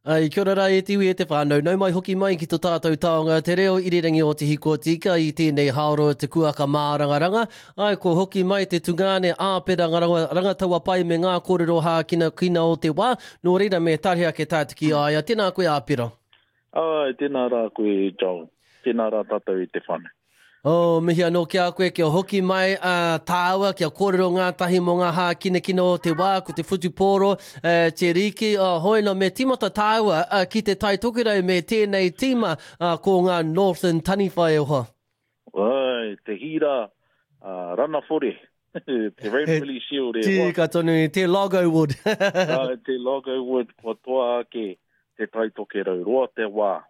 Ai, kia ora rā e te iwi e te whānau, nau mai hoki mai ki to tātou taonga te reo irirangi o Te Hikotika i tēnei haoro te kuaka mārangaranga. Ai, kua hoki mai te tungāne Āpera Rangataua pai me ngā kōrero hākinakina o te wā, nō reira me tare ake tātou ki a ia. Tēnā koe Āpera. Ai, tēnā rā koe Joel. Tēnā rā tātou e te whānau. Oh, mihi anō ki a koe, kia hoki mai a tāua, kia kōrero ngātahi mō ngā hākinakina o te wā, ko te whutupōro, uh, te riki, oh, hoi no, me tīmata tāua uh, ki te Tai Tokerau me tēnei tīma uh, ko ngā Northern Taniwha e hoa. Ai, te hīra uh, Ranawhore, te Ranfurly Shield e hoa. Tika tonu, te Logo Wood. Ai, te Logo Wood, kua toa ake Te Tai Tokerau. Roa te wā,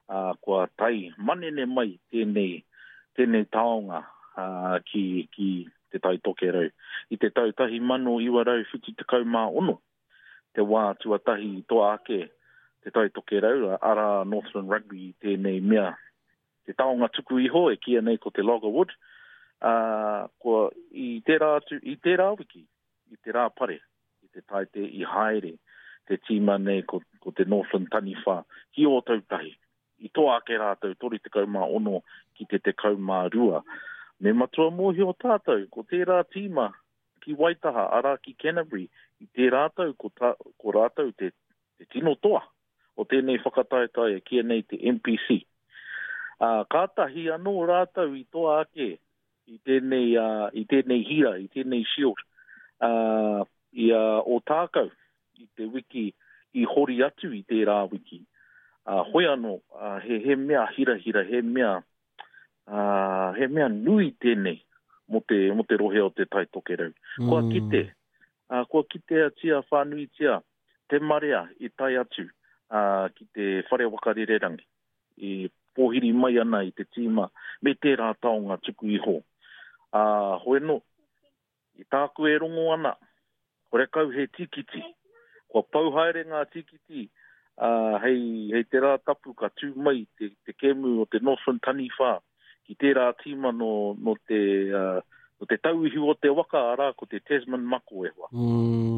ā, kua tae manene mai tēnei, tēnei taonga, ā, ki, ki Te Tai Tokerau. I te tau 1976 te wā tuatahi i toa ake Te Tai Tokerau, arā Northland Rugby i tēnei mea, te taonga tuku iho e kīia nei ko te Loggerwood, ā, kua, i tērā atu, i tērā wiki, i te Rāpare, i te Taite i haere te tīma nei ko, ko te Northland Taniwha ki Ōtautahi. I toa ake rātou 36 ki te 12. Me matua mōhio tātou, ko tērā tīma ki Waitaha, arā ki Canterbury, i tērā tau ko, ta, ko rātou te, te tino toa o tēnei whakataetae e kīia nei te NPC. Ā, kātahi anō rātou i toa ake i tēnei, uh, i tēnei hira, i tēnei shield, uh, i a uh, Ōtākou, i te wiki i hori atu i tērā wiki. Uh, hoi anō, uh, he, he mea hirahira, he mea, uh, he mea nui tēnei mō te, mō te rohe o te Tai Tokerau. Mm. Kua kite, uh, kua kiteatia whānuitia te marea i tae atu uh, ki te whare waka rererangi. E pōhiri mai ana i te tīma me tērā taonga tuku iho. Ā, hoi anō, i tāku e rongo ana, horekau he tīkiti. Kua pau haere ngā tīkiti, ā, hei, hei te rā tapu ka tū mai te, te kēmu o te Northland Taniwha ki tērā tīma nō, nō te, ā, nō te tauihu o te waka, arā, ko te Tasman Mako e hoa. Mm.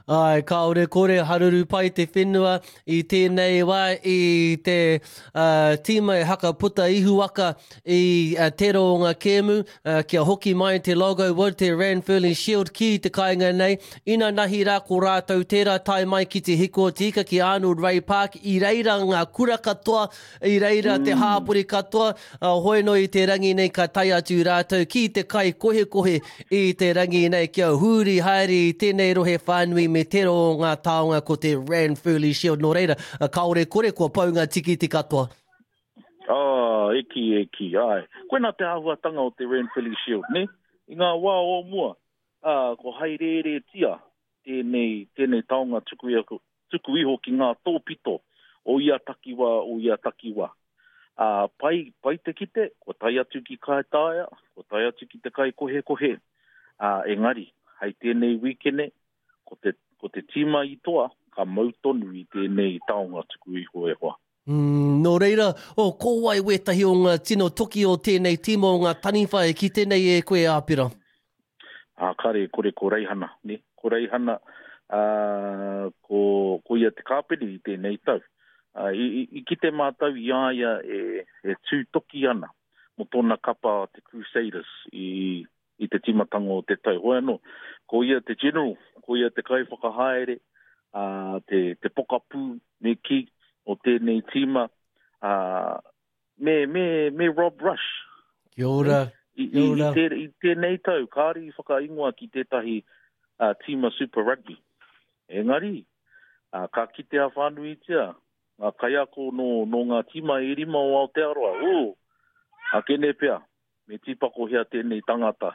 Ai, kāore kore haruru pai te whenua i tēnei wā i te uh, tīma e haka puta ihuwaka i uh, te roonga kēmu uh, kia hoki mai te logo wood, te Ranfurly Shield ki te kāinga nei. Ina nahi rā ko rātou tērā tae mai ki te hiko tika ki Arnold Ray Park i reira ngā kura katoa I reira te hāpori katoa, hoi no i te rangi nei ka tae atu rātou ki te kai kohekohe i te rangi nei kia huri haere i tēnei rohe whānui me tērā o ngā taonga ko te Ranfurly Shield. Nō reira, kāore kore kua pau ngā tikiti katoa. Oh, e kī, e kī, āe. Koinā te āhuatanga o te Ranfurly Shield, nē? I ngā wā o mua, ā, ko haerēretia tēnei, tēnei taonga tuku iho, tuku iho ki ngā tōpito o ia takiwā, o ia takiwā. Ā, pai, pai te kite, kua tae atu ki Kaitaia, kua tae atu ki te kaikohekohe, ā, engari, hei tēnei wīkene, ko te, ko te tīma i toa, ka mau tonu i tēnei taonga tuku iho e hoa. Mm, nō reira, oh, ko wai wētahi o ngā tino toki o tēnei tīma o ngā taniwha e kite nei e koe, Āpera? Ā, kare, kore ko Reihana, ne? Ko Reihana, ā, ko, ko ia te kāpene i tēnei tau. Ā, i, i, i kite mātou i a ia e, e tū toki ana mō tōna kapa te Crusaders i, i te tīmatanga o te tau. Hoi anō, ko ia te general, ko ia te kaiwhakahaere, ā, te, te pokapū, me kī, o tēnei tīma, ā, me, me, me Rob Rush. Kia ora. I, i, i, te, i tēnei tau, kāre i whakaingoa ki tētahi uh, tīma Super Rugby. Engari, uh, ka kitea whānuitia ngā kaiako nō, nō ngā tīma e rima o Aotearoa. Ū, akene pea, Me tīpakohia tēnei tangata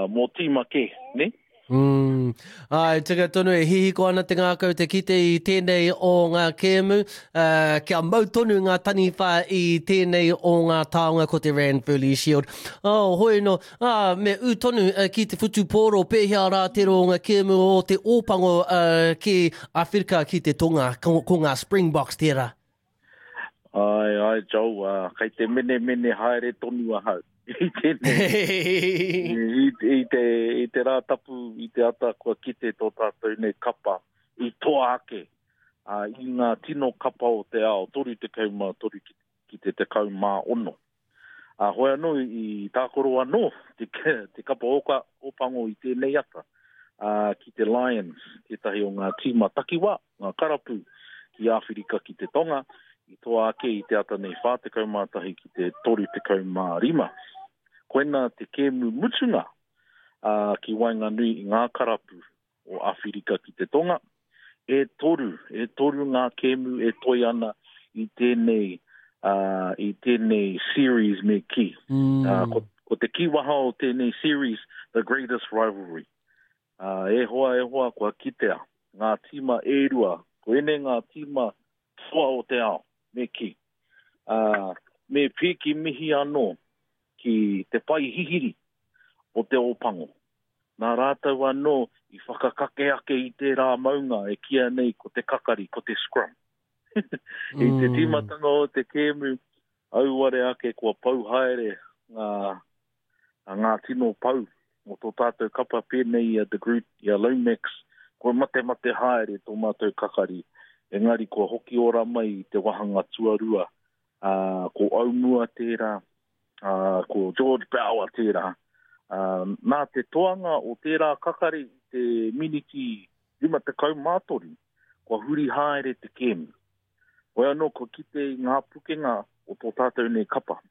mō tīma kē, nē? Mm. Āe, tika tonu e hihiko ana te ngākau te kite i tēnei o ngā kēmu, uh, kia mau tonu ngā taniwha i tēnei o ngā taonga ko te Ranfurly Shield. Oh, hoi no, ah, me ū tonu uh, ki te whutupōro, pēhea rā te roonga kēmu o te Ōpango uh, ki Awhirika ki te tonga, ko, ko ngā Springboks tērā. Ai, ai, Joel, uh, kei te menemene haere tonu ahau. I tēnei, i, i, te, i te rā tapu, i te ata kua kite tō tātou nei kapa, i toa ake. ā, i ngā tino kapa o te ao, 33 ki te 16. Ā, hoi anō i tākaro anō te, te kapa oka, Ōpango i tēnei ata, ā, ki te Lions, tētahi o ngā tīma takiwā, ngā karapu ki Āwhirika ki te Tonga, i toa ake i te ata nei 41 ki te 35. Koina te kēmu mutunga ā, ki waenganui i ngā karapu o Āwhirika ki te Tonga. E toru, e toru ngā kēmu e toe ana i tēnei, uh, i tēnei series me kī. Mm. Uh, ko, ko te kīwaha o tēnei series, The Greatest Rivalry. Uh, e hoa, e hoa, kua kitea ngā tīma e rua, ko ēnei ngā tīma toa o te ao, me kī. Uh, me pīki mihi anō ki te pai hihiri o te Ōpango. Nā rātou anō i whakakake ake i tērā maunga e kīia nei ko te kakari, ko te scrum. I te tīmatanga o te kēmu, auare ake kua pau haere ngā, ngā tino pau o tō tātou kapa pēnei i a De Groot, i a Lomax, kua matemate haere tō mātou kakari, engari kua hoki ora mai i te wāhanga tuarua, ā, ko Aumua tērā, ā, ko George Bower tērā. Ā, nā te toanga o tērā kakari i te miniti 53, kua huri haere te kēmu. Hoi anō kua kite i ngā pukenga o tō tātou nei kapa.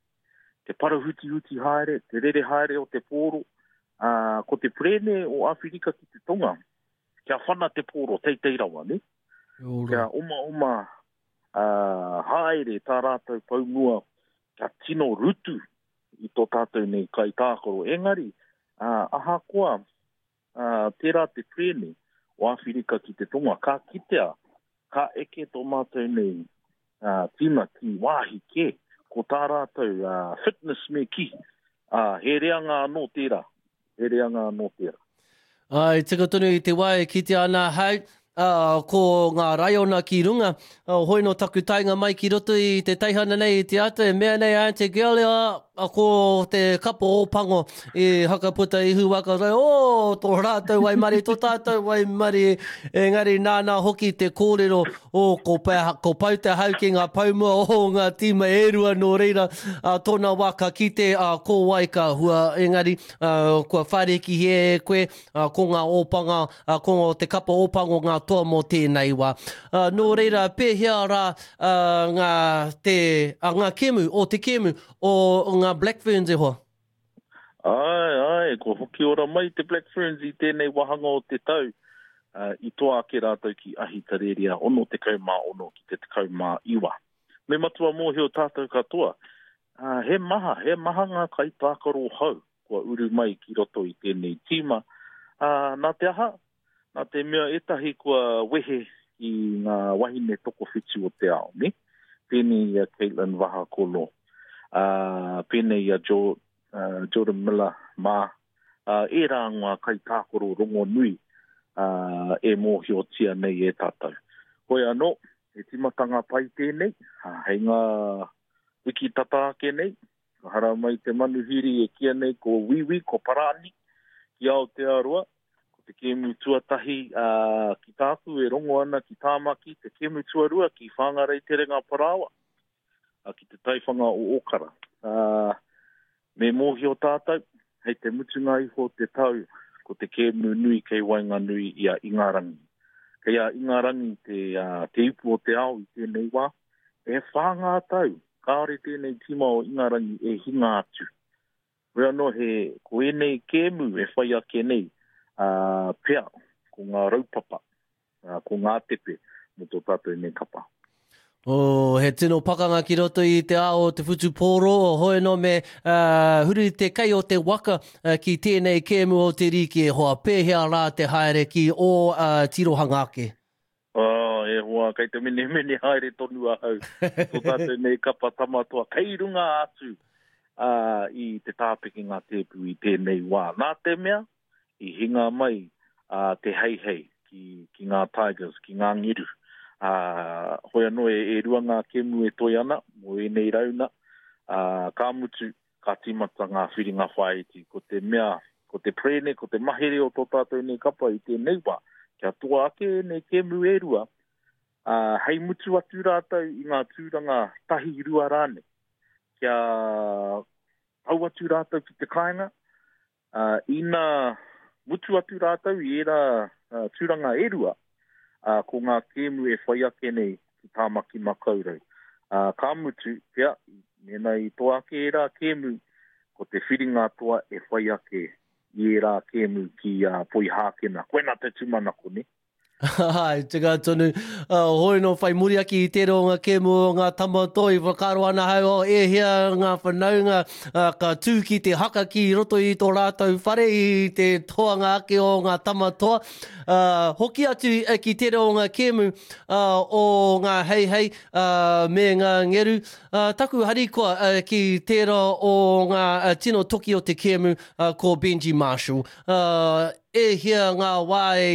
Te parahutihuti haere, te rere haere o te pōro, ā, ko te perēne o Āwhirika ki te Tonga, kia whana te pōro teitei rawa, nē? Kia omaoma ā, haere tā rātou pou mua kia tino rutu i tō tātou nei kaitākaro. Engari, ā, ahakoa ā, tērā te perēne o Āwhirika ki te Tonga, ka kitea, ka eke tō mātou nei ā, tīma ki wāhi kē, ko tā rātou ā, fitness me kī, ā, he reanga anō tērā, he reanga anō tērā. Ā, i tika tonu i te wā e kitea ana ahau, ā, ko ngā raiona ki runga, ā, hoi nō taku taenga mai ki roto i te teihana nei i te ata, e mea nei a Aunty Girlie, ā, ko te kapa Ōpango i hakaputa ihu waka, ō, tō rātou waimarie, tō tātou waimarie, engari nāna hoki te kōrero, ō, ko, ko pau te hau ki ngā poumua o ngā tīma e rua, nō reira, ā, tōna wā ka kite, ā, ko wai ka hua, engari, Kua whārikihia e koe, ko ngā ōpanga, ko te kapa ōpango ngā toa mō tēnei wā. Nō reira, pēhea rā ngā, te, ngā kēmu, o te kēmu o ngā Black Ferns e hoa? Āe, āe, kua hoki ora mai te Black Ferns i tēnei wāhanga o te tau. I toa ake rātou ki Ahitereiria 66 ki te 19. Me matua mōhio tātou katoa, ā, he maha, he maha ngā kaitākaro hou kua uru mai ki roto i tēnei tīma, ā, nā te aha? Nā te mea ētahi kua wehe ki ngā wahine tokowhitu o te ao, nē? Pēnei i a Katelyn Vahakolo, ā, pēnei i a Jo, ā, Jordan Miller mā, ā, ērā ngā kaitākaro rongonui, ā, e mōhiotia nei e tātou. Hoi anō, he tīmatanga pai tēnei, ā, hei ngā wiki tata ake nei, ka haramai te manuhiri e kīia nei ko Wīwī, ko Parani, ki Aotearoa. Ko te kēmu tuatahi ā, ki tāku e rongo ana ki Tāmaki, te kēmu tuarua ki Whāngarei Terenga Parāoa, ā, ki te taiwhanga o Ōkara. Ā, me mōhio tātou, hei te mutunga iho o te tau, ko te kēmu nui kei waenganui i a Ingarangi. Kei a Ingarangi te, ā, te ipu o te ao i tēnei wā, E whā ngā tau, kāore tēnei tīma o Ingarangi e hinga atu. Hoi anō he, ko ēnei kēmu e whai ake nei, ā, pea, ko ngā raupapa, ā, ko ngā tepe mō tō tātou nei kapa. Oh, he tino pakanga ki roto i te ao o te whutupōro, hoi anō me uh, huri te kei o te waka uh, ki tēnei kēmu o te rīki e hoa. Pēhea rā te haere ki ō uh, tirohanga ake? Oh, e hoa, kei te menemene haere tonu ahau. Tō tātou nei kapa tamatoa, kei runga atu uh, i te tāpekenga tēpu i tēnei wā. Nā te mea, i hinga mai uh, te heihei ki, ki ngā Tigers, ki ngā ngeru. Uh, hoi anō e, e rua ngā kemu e toi ana mō ēnei rauna. Uh, ka mutu, ka tīmata ngā whiringa whāiti. Ko te mea, ko te perēne, ko te mahere o tō tātou nei kapa i tēnei wā, kia toa ake ēnei kēmu e rua, Ā, hei mutu atu rātou i ngā tūranga tahi rua rānei, kia tau atu rātou ki te kāinga, ā, ina mutu atu rātou i ērā tūranga e rua, ā, ko ngā kēmu e whai ake nei ki Tāmaki Makaurau. Ā, ka mutu, pea, mēnā i toa ake ērā kēmu, ko te whiringa toa e whai ake i ērā kēmu ki Poihākena. Koinā te tūmanako, nē? Āe, tika tonu. Uh, hoi no whai muri ake i tērā o ngā kēmu o ngā tama toi, whakaaro ana hau, oh, e hea ngā whanaunga uh, ka tū ki te haka ki roto i tō rātou whare i te toanga ake o ngā tama toa. Uh, hoki atu uh, ki tērā o ngā kēmu uh, o ngā heihei uh, me ngā ngeru. Uh, taku harikoa uh, ki tērā o ngā uh, tino toki o te kēmu uh, ko Benji Marshall. Uh, E hia ngā wā e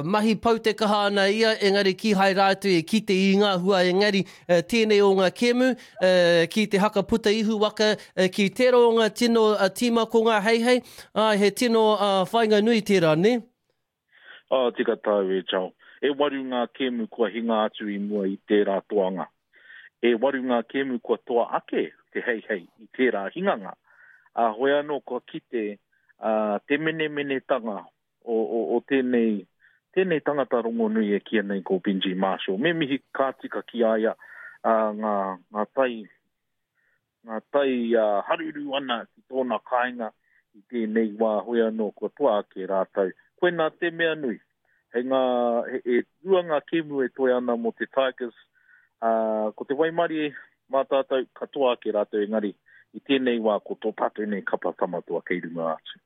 mahi pau te kaha ana ia, engari kīhai rātou e kite i ngā hua, engari tēnei o ngā kēmu, ki te haka puta ihu waka, ki tērā o ngā tino tīma ko ngā heihei, āe, he tino whāinga nui tērā, nē? Oh, tika tāu e Joel. E waru ngā kēmu kua hinga atu i mua i tērā toanga. E waru ngā kēmu kua toa ake te heihei i tērā hinganga. Ā, hoi anō kua kite ā, te menemenetanga o, o, o tēnei, tēnei tangata rongonui e kīia nei ko Benji Marshall. Me mihi ka tika ki a ia ā, ngā, ngā tai, ngā tai ā, haruru ana ki tōna kāinga i tēnei wā, hoi anō kua toa ake rātou. Koinā te mea nui. Hei ngā, he, e rua ngā kēmu e toe ana mō te Tigers, ā, ko te waimarie mā tātou, ka toa ake rātou engari i tēnei wā ko tō tātou nei kapa tamatoa kei runga atu.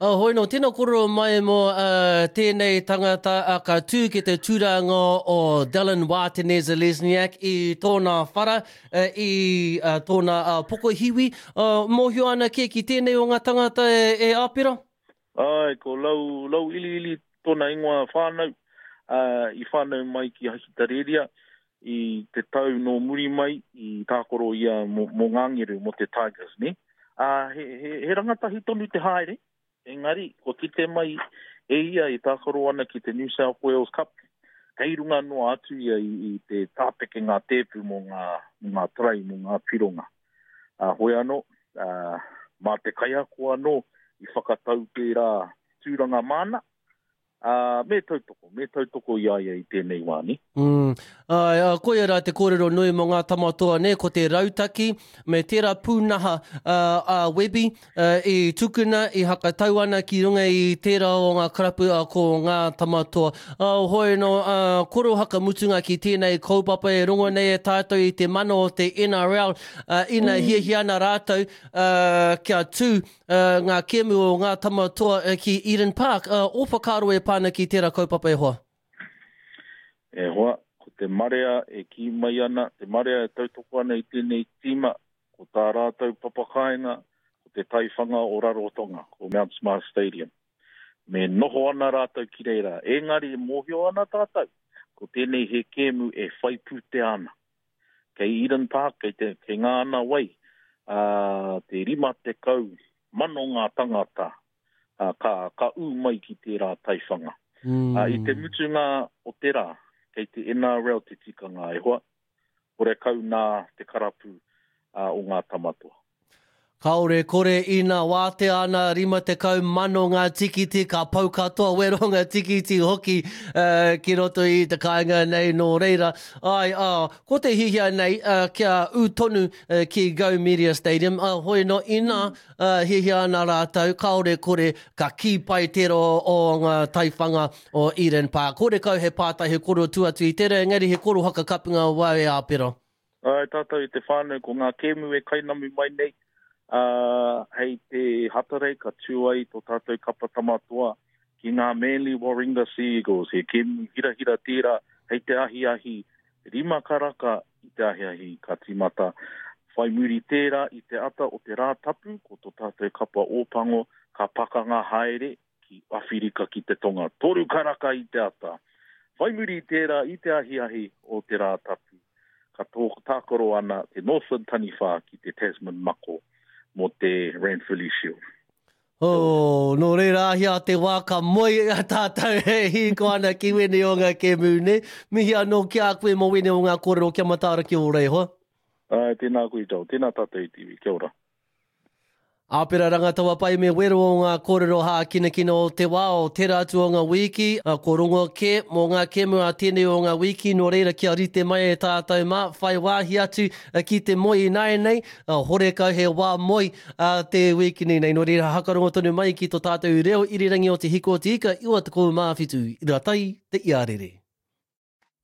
Oh, hoi no, tēnā kōrero mai mō uh, tēnei tangata uh, ka tū ki te tūranga o Dallin Wātene-Zelezniak i tōna whara, uh, i uh, tōna uh, pokohiwi. Uh, mōhio ana kē ki tēnei o ngā tangata e, e Āpera? Āe, ko Lau, Lau Iliili tōna ingoa whānau, ā, i whānau mai ki Ahitereiria i te tau nō muri mai i tākaro ia mō, mō ngā ngeru, mō te Tigers, nē. Ā, he, he, he rangatahi tonu te haere, engari kua kite mai e ia e tākaro ana ki te New South Wales Cup, kei runga noa atu ia i, i te tāpeke ngā tēpu mō ngā, mō ngā tarai, mō ngā pironga. Ā, hoi anō, ā, mā te kaiako anō i whakatau tērā tūranga māna, ā, me tautoko, me tautoko i a ia i tēnei wā, nē? Mm. Āe, ā, koia rā te kōrero nui mō ngā tama toa, nē, ko te rautaki me tērā pūnaha ā, a Webby, I tukuna, i hakatau ana ki runga i tērā o ngā karapu a ko ngā tama toa. Hoi no, koro hakamutunga ki tēnei kaupapa e rongo nei e tātou i te mana o te NRL, ina hiahia ana rātou kia tū ngā kēmu o ngā tama toa ki Eden Park. Ō whakaaro e pā ana ki tērā kaupapa e hoa? E hoa, ko te marea e kī mai ana, te marea e tautoko ana i tēnei tīma, Ko tā rātou papakāinga, ko te taiwhanga o Rarotonga, ko Mount Smart Stadium. Me noho ana rātou ki reira, engari e mōhio ana tātou, ko tēnei he kēmu e whai pūtea ana. Kei Eden Park, kei, te, kei ngā ana wai, ā, te 50 mano ngā tangata ā, ka, ka ū mai ki tērā taiwhanga. Mm. Ā, i te mutunga o te rā, kei te NRL te tikanga e hoa, horekau nā te karapu o ngā tamatoa. Kaore kore ina wātea ana 50,000 ngā tikiti ka pau katoa wero ngā tikiti hoki ki roto i te kāinga nei nō reira ai ā ko te hihia nei kia ū tonu ki Go Media Stadium ā hoi no ina hiahia ana rātou kaore kore ka kī pai tērā o ngā taiwhanga o Eden Park. Horekau he pātai, he koro tu atu i tera, engari he koro hakakapinga o wau e Āpera. Āe, tātou i te whānau, ko ngā kēmu e kainamu mai nei, ā, hei te Hatarei ka tū ai tō tātou kapa Tama Toa ki ngā Manly Warringah Sea Eagles. He kēmu hirahira tērā hei te ahiahi rima karaka i te ahiahi ka tīmata. Whai muri tērā i te ata o te Rātapu, ko tō tātou kapa Ōpango ka pakanga haere ki Awhirika ki te Tonga, toru karaka i te ata. Whai muri i tērā, i te ahiahi o te Rātapu, ka tākaro ana te Northland Taniwha ki te Tasman Mako mō te Ranfurly Shield. Oh, nō reira ahia te wā ka moe a tātou e hīko ana ki wēnei o ngā kēmu, nē? Mihi anō ki a koe mō wēnei o ngā kōrero kia mataara ki ō reihoa. Āe, tēnā koe Joel, tēnā tātou e te iwi, kia ora. Āpera Rangataua Pai me wero o ngā kōrero hākinakina o te wā o tērā atu o ngā wīki, ko rongo kē mō ngā kēmu a tēnei o ngā wīki, nō reira kia rite mai e tātou mā, whai wāhi atu ki te moe ināianei, horekau he wā moe a te wīkini nei, nō reira hakarongo tonu mai ki to tātou reo irirangi o Te Hiko o Te Ika 97 ira tai te iarere.